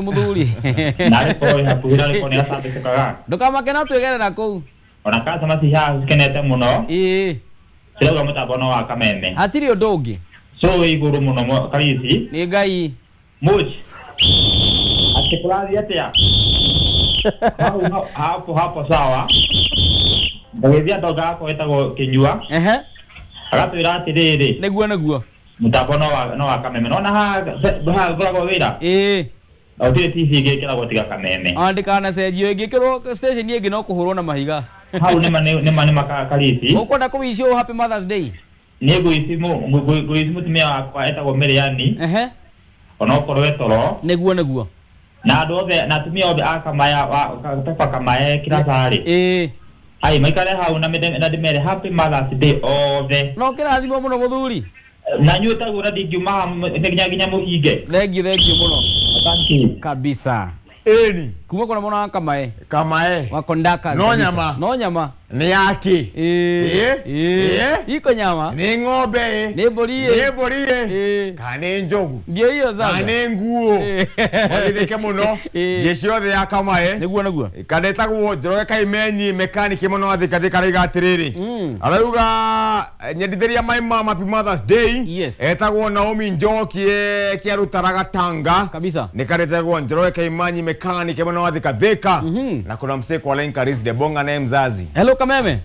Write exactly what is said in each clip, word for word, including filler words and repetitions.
Muthuri. Narĩ korwo hakuhĩ na rĩko nĩ atambĩkĩkaga. Ndũkamake no twĩgerera kũu. Ona customer ci haha cikenete mũno. Ĩĩ. Cirauga mũtambo no wa Kameme. Hatirĩ ũndũ ũngĩ. So wĩ igũrũ mũno Karisi. Nĩ Ngai. Much. Atĩ kũrathiĩ atĩa? Hau hapo hapo sawa. Ndagĩthia ndonga yakwa ĩtagwo Kĩnyua. Ehe. Agatwĩra atĩrĩrĩ. Nĩguo nĩguo. Mũtambo no wa no wa Kameme. Nona haha haha ngoragwo wĩra. Ĩĩ. Na gũtirĩ T V ĩngĩ ĩkĩragwo tiga Kameme. Ona ndĩkanacenjio ĩngĩkĩrwo station ĩngĩ no kũhũrwo na mahiga. Hau nĩma nĩma nĩma Karisi. Ũkwenda kũwicio Happy Mother's Day? Nĩ ngũici ngũici mũtumia wakwa etagwo Mĩrĩani. Ehe. Onokorwo e toro. Nĩguo nĩguo. Na andũ othe na atumia othe a Kamaya Pepa Kamae Kiracarĩ. Ĩĩ. Ai maikare hau na na ndĩmere Happy Mother's Day othe. No kĩrathimwo mũno mũthuri. Na nyuĩ taguo na ndingiuma haha nginya nginya mũhinge. Thengiũ thengiũ mũno. Thank you. Kabisa. Ĩni. Kuma kũrĩa mwena wa Kamae. Kamae. Wa Kondakas. No nyama. No nyama. Nĩ yaki. Ĩĩ. Ĩĩ. Iko nyama. Nĩ ng'ombe ĩ. Nĩ mbũri ĩ. Nĩ mbũri ĩ. Ĩĩ. Kana nĩ njogu. Ndio hiyo sasa. Kana nĩ nguo. Magithĩke mũno. Jeshi yothe ya Kamae. Nĩguo nĩguo. Kana ĩtagwo Njoroge Kaimenyi mekaniki mũno wa Thika Thika arauga atĩrĩrĩ. Arauga nyendithĩria my mama Happy Mother's Day. Yes. Etagwo Naomi Njoki kĩarutaraga Tanga. Kabisa. Nĩ karetagwo Njoroge Kaimanyi mekaniki mũno wa Thika Thika. Na kuna msee kwa line Karis de Bonga naye mzazi. Hello Kameme.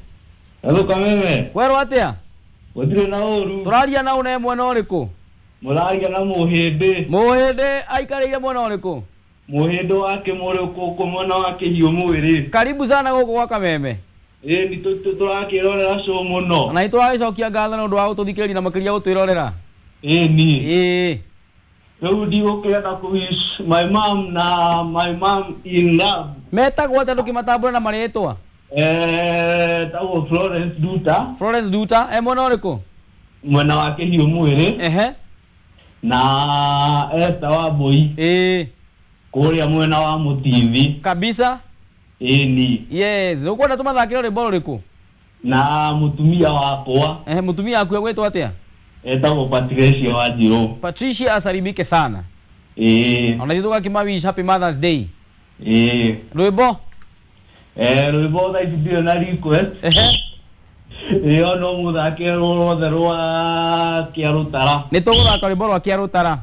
Hello Kameme. Kwerwo atia? Gũtirĩ na ũru. Tũraria na une mwena ũrĩkũ? Mũraria na Mũhĩndĩ. Mũhĩndĩ aikarĩire mwena ũrĩkũ? Mũhĩndĩ wa Kĩmũrĩ gũkũ mwena wa Kĩhiũ mwĩrĩ. Karibu sana gũkũ gwa Kameme. Ĩĩ nĩ tũrakĩrorera show mũno. Na nĩ tũragĩcokia ngatho nĩ ũndũ wa gũtũthikĩrĩria na makĩria gũtwĩrorera. Ĩĩ ni. Ĩĩ. Rĩu ndigũkĩenda kũ wish my mom na my mom in love. Metagwo atĩa ndũkĩmatambũre na marĩtwa? Eh, tagwo Florence Duta. Florence Duta, e mwena ũrĩkũ? Mwena wa Kĩhiũ mwĩrĩ. Ehe. Na Esther Wambui. Ĩĩ. Kũrĩa mwena wa Mũtithi. Kabisa. Ĩĩ ni. Yes, ũkwenda tũmathakĩre rwĩmbo rũrĩkũ? Na mũtumia wakwa. Ehe, mũtumia waku egwĩtwo atĩa? Etagwo Patricia Wanjirũ. Patricia asalimike sana. Ĩĩ. Ona ithuĩ tũgakĩmawish Happy Mother's Day. Ĩĩ. Rwĩmbo? Eh, rwĩmbo thaa ici ndirĩ na request. Ehe. Ĩyo no mũthake rwothe rwa Kĩarũtara. Nĩ tũgũthaka rwĩmbo rwa Kĩarũtara.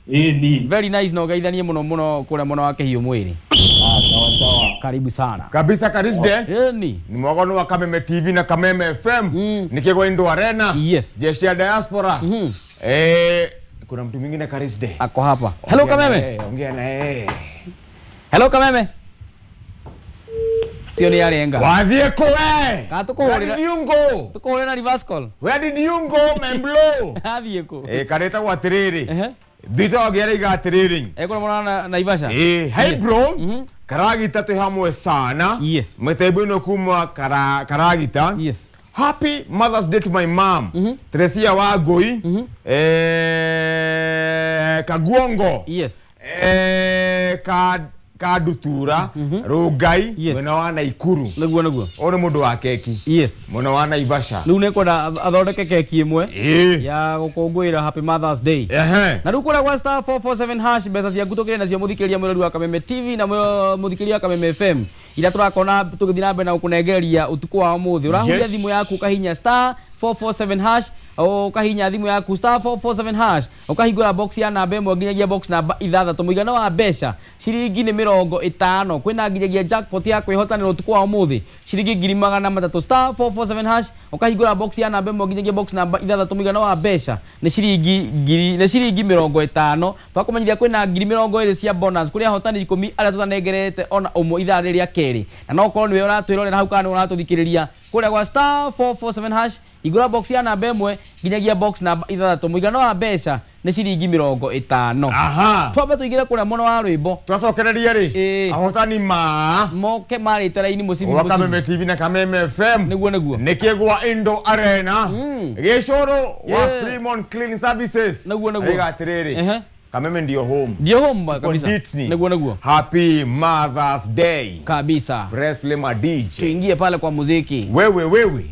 Ĩĩ ni. Very nice na ũgeithanie mũno mũno kũrĩa mwena wa Kĩhiũ mwĩrĩ. Ah, sawa sawa. Karibu sana. Kabisa Karis de. Ĩĩ ni. Ni mwagono wa Kameme T V na Kameme F M. Mm. Nikigwa Indo Arena. Yes. Jeshi ya diaspora. Mm -hmm. Eh, kuna mtu mwingine Karis de. Ako hapa. Hello Kameme. Ongea na yeye. Hello Kameme. Sio ni arenga. Wathiĩ kũ we? Ka tũkũhũrĩra. Where did you go? Tũkũhũrĩra reverse call. Where did you go, Memblo? Athiĩ kũ? Eh, karetagwo atĩrĩrĩ. Ehe. Thita wagera atĩrĩrĩ. Ekũrĩa mwana na Naivasha. Eh, hey Yes. bro. Mm -hmm. Karagita twĩ hamwe sana. Yes. Mĩtembo ĩno kuma kara, Karagita. Yes. Happy Mother's Day to my mom. Mm -hmm. Teresia Wangui. Mm -hmm. Eh, Kaguongo. Yes. Eh, ka Kadutura, mm -hmm. Rugai, yes. Mwena wa Naikuru. Nĩguo nĩguo. Ũyũ nĩ mũndũ wa keki. Yes. Mwena wa Naivasha. Rĩu nĩngwenda athondeke keki ĩmwe Ĩĩ. ya gũkũngũĩra Happy Mother's Day. Ehe. Na rĩu kũrĩa gwa star four four seven hash mbeca ciaku tũkĩrĩ nacio mũthikĩrĩria mwĩrori wa Kameme T V na mũthikĩrĩria wa Kameme F M. Ira tũrakona tũgĩthiĩ na mbere na gũkũnengereria ũtukũ wa ũmũthĩ. Ũrahuria Yes. thimũ yaku ũkahinya star four four seven hash, ũkahinya thimũ yaku star four four seven hash, ũkahingũra box ya namba ĩmwe nginyagia box namba ithathatũ. Mũigana wa mbeca ciringi nĩ mĩrongo ĩtano. Kwĩna nginyagia jackpot ya kwĩhotanĩra ũtukũ wa ũmũthĩ ciringi ngiri magana matatũ. Star four four seven hash, ũkahingũra box ya namba ĩmwe nginyagia box namba ithathatũ. Mũigana wa mbeca nĩ ciringi ngiri nĩ ciringi mĩrongo ĩtano. Twakũmenyithia kwĩna ngiri mĩrongo ĩrĩ cia bonus kũrĩ ahotani ikũmi arĩa tũtanengerete ona ũmwe ithaa rĩrĩ rĩa kerĩ. Na no ũkorwo nĩwe ũratwĩrorera hau kana nĩwe ũratũthikĩrĩria kũrĩa gwa star four four seven hash, igũra box ya namba ĩmwe nginyagia box namba ithathatũ. Mũigana wa mbeca nĩ ciringi mĩrongo ĩtano. Aha. Twambe tũingĩre kũrĩa mwena wa rwĩmbo. Twacokereria rĩ. Ĩĩ. Ahotani ma moke marĩte raini mũcibi wa mũcibi. Kameme T V na Kameme F M. Nĩguo nĩguo. Nikigwa Indo Arena. Mm. Gĩcũrũ wa Yeah. Fremont Cleaning Services. Nĩguo nĩguo. Arauga atĩrĩrĩ. Ehe. Kameme ndio home. Ndio home kabisa. Konditni. Nĩguo nĩguo. Happy Mother's Day. Kabisa. Press play ma D J. Tuingie pale kwa muziki. Wewe wewe.